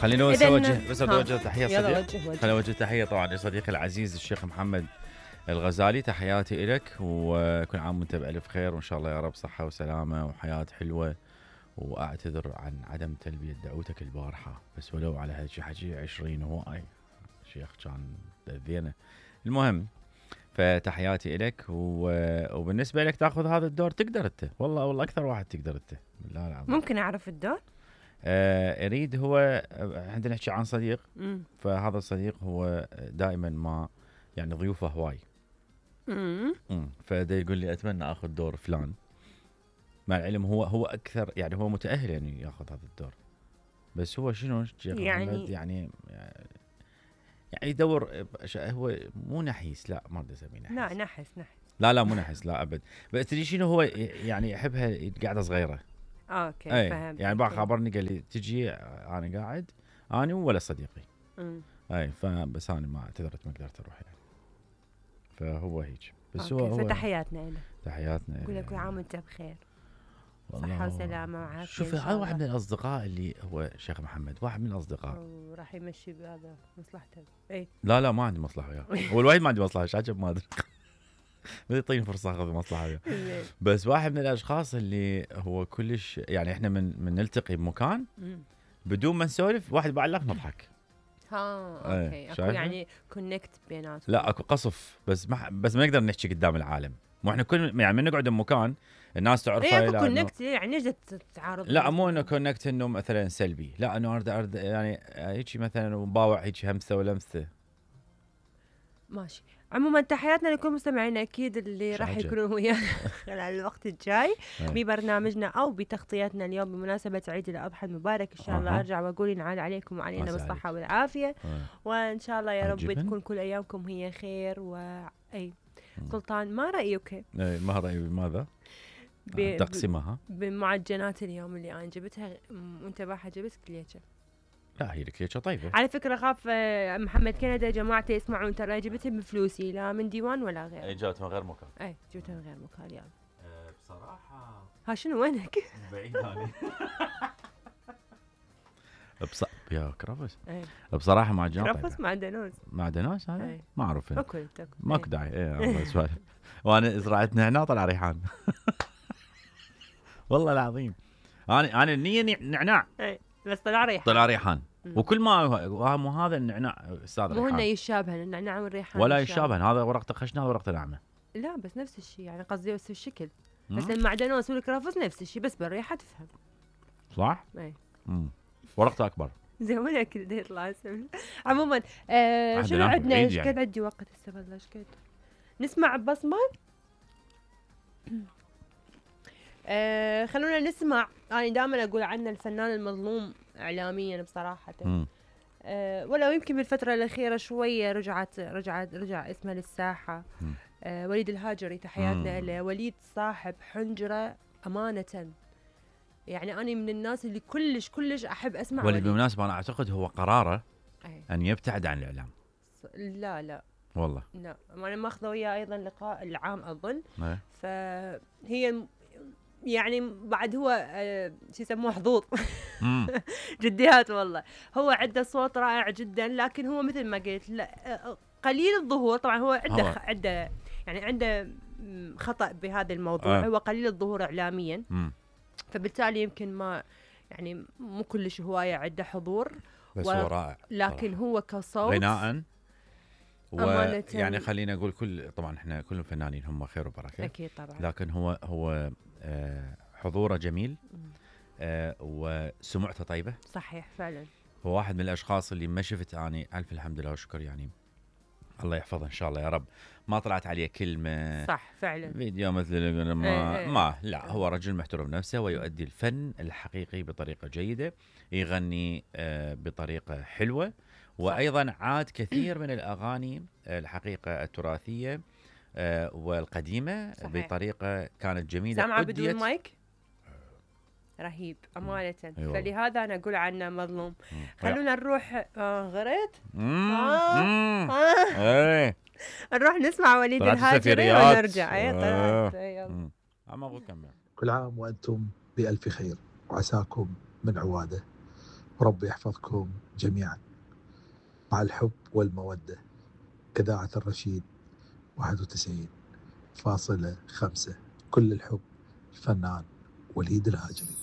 خليني بس اوجه تحيه يلا صديق. خليني اوجه تحيه طبعا لصديقي العزيز الشيخ محمد الغزالي. تحياتي لك وكل عام وانت بألف خير وان شاء الله يا رب صحه وسلامه وحياه حلوه. واعتذر عن عدم تلبيه دعوتك البارحه بس ولو على هالشيء حكي 20 هواي شيخ كان ذينه. المهم فتحياتي لك وبالنسبه لك تاخذ هذا الدور تقدر انت والله اكثر واحد تقدر انت. لا ممكن اعرف الدور؟ اريد هو عندنا نحكي عن صديق. فهذا الصديق هو دائما ما يعني ضيوفه هواي. فدا يقول لي اتمنى اخذ دور فلان مع العلم هو اكثر يعني هو متاهل يعني ياخذ هذا الدور بس هو شنو يعني يدور هو مو نحيس. لا ما بدي اسميه نحيس. لا نحس لا مو نحس لا ابد. بس تدري شنو هو يعني يحبها قاعده صغيره. اوكي فهمت. يعني بقى خبرني قال لي تجي انا قاعد انا ولا صديقي. اي فبس انا ما اعتذرت ما قدرت اروح يعني. فهو هيك بس هو فتحياتنا له. تحياتنا. اقول لك كل عام وانت بخير صحه وسلامه وعافيه. شوف هذا واحد من الاصدقاء اللي هو شيخ محمد واحد من الاصدقاء راح يمشي بهذا مصلحته. اي لا ما عندي مصلحه وياه. هو الوحيد ما عندي مصلحه شاكب ما ادري. بدي يعطيني فرصه اخذ مصلحه وياه. بس واحد من الاشخاص اللي هو كلش يعني احنا من نلتقي بمكان بدون ما نسولف واحد بعلق نضحك. اوكي اكو يعني كونكت بيناتهم. لا اكو قصف بس ما نقدر نحكي قدام العالم. مو احنا كل يعني من نقعد بمكان الناس تعرفها. اكو كونكت يعني ايش تتعارض؟ لا مو انه كونكت انه مثلا سلبي. لا انه ارد يعني هيك مثلا مباوع هيك همسه ولمسه. ماشي. عموما تحياتنا لكل مستمعينا اكيد اللي راح يكونوا ويانا خلال الوقت الجاي ببرنامجنا او بتغطيتنا اليوم بمناسبه عيد الاضحى المبارك. ان شاء الله ارجع واقول ينعاد عليكم وعلينا بالصحه والعافيه. وان شاء الله يا رب تكون كل ايامكم هي خير. واي سلطان ما رايك؟ ما رايي بماذا؟ تقسيمها بمعجنات اليوم اللي انا جبتها وانت باحه جبت كليتشه. لا هي الكليتشه طيبه على فكره. خاف محمد كندا جماعته يسمعون ترى جبتها بفلوسي لا من ديوان ولا غير. اي جبتها من غير مكان. اي جبتها من غير مكان يعني. بصراحه ها شنو وينك؟ بعيد هاني. يا كرفس. بصراحه معجنات كرفس معدنوس هذا ما اعرف تاكل ماكو داعي. والله سوالف. وانا زرعتنا هنا طلع ريحان. والله العظيم انا النيه نعناع بس طلع ريحان. وكل ما مو هذا النعناع استاذ ريحان. مو انه يشابهن النعناع والريحان ولا يشابهن. هذا ورقته خشنه ورقته ناعمه. لا بس نفس الشيء يعني قصدي بس الشكل. بس المعدنوس والكرفس نفس الشيء بس بالريحه تفهم صح. اي ورقته اكبر زي ولا كذا يطلع سمن. عموما شنو عندنا؟ ايش قد عندي وقت هسه والله ايش قد نسمع بصمه. خلونا نسمع. انا دائما اقول عنه الفنان المظلوم اعلاميا بصراحه. ولو يمكن بالفتره الاخيره شويه رجع اسمه للساحه. وليد الهاجري تحياتنا له. وليد صاحب حنجره امانه. يعني انا من الناس اللي كلش احب اسمع وليد. بالمناسبه انا اعتقد هو قراره ان يبتعد عن الاعلام. لا والله لا انا ماخذه وياه ايضا لقاء العام اظن. فهي يعني بعد هو شو يسموه حظوظ. جديات والله. هو عنده صوت رائع جدا لكن هو مثل ما قلت لا قليل الظهور. طبعا هو عنده خطأ بهذا الموضوع. هو قليل الظهور اعلاميا. فبالتالي يمكن ما يعني مو كلش هوايه عنده حضور. بس هو رائع لكن صراحة. هو كصوت غناء يعني خلينا نقول طبعا احنا كلهم فنانين هم خير وبركه اكيد طبعا. لكن هو حضوره جميل. وسمعته طيبه. صحيح فعلا. هو واحد من الاشخاص اللي ما شفت اني الف الحمد لله والشكر يعني الله يحفظه ان شاء الله يا رب ما طلعت عليه كلمه صح فعلا فيديو مثل لا هو رجل محترم نفسه ويؤدي الفن الحقيقي بطريقه جيده. يغني بطريقه حلوه. وايضا عاد كثير من الاغاني الحقيقه التراثيه والقديمه صحيح. بطريقه كانت جميله. سامعه بدون مايك رهيب أمانة. فلهذا أنا أقول عنه مظلوم. خلونا نروح غريت نروح نسمع وليد الهاجري ونرجع. كل عام وأنتم بألف خير وعساكم من عواده. وربي يحفظكم جميعا. مع الحب والمودة، إذاعة الرشيد 91.5. كل الحب، الفنان وليد الهاجري.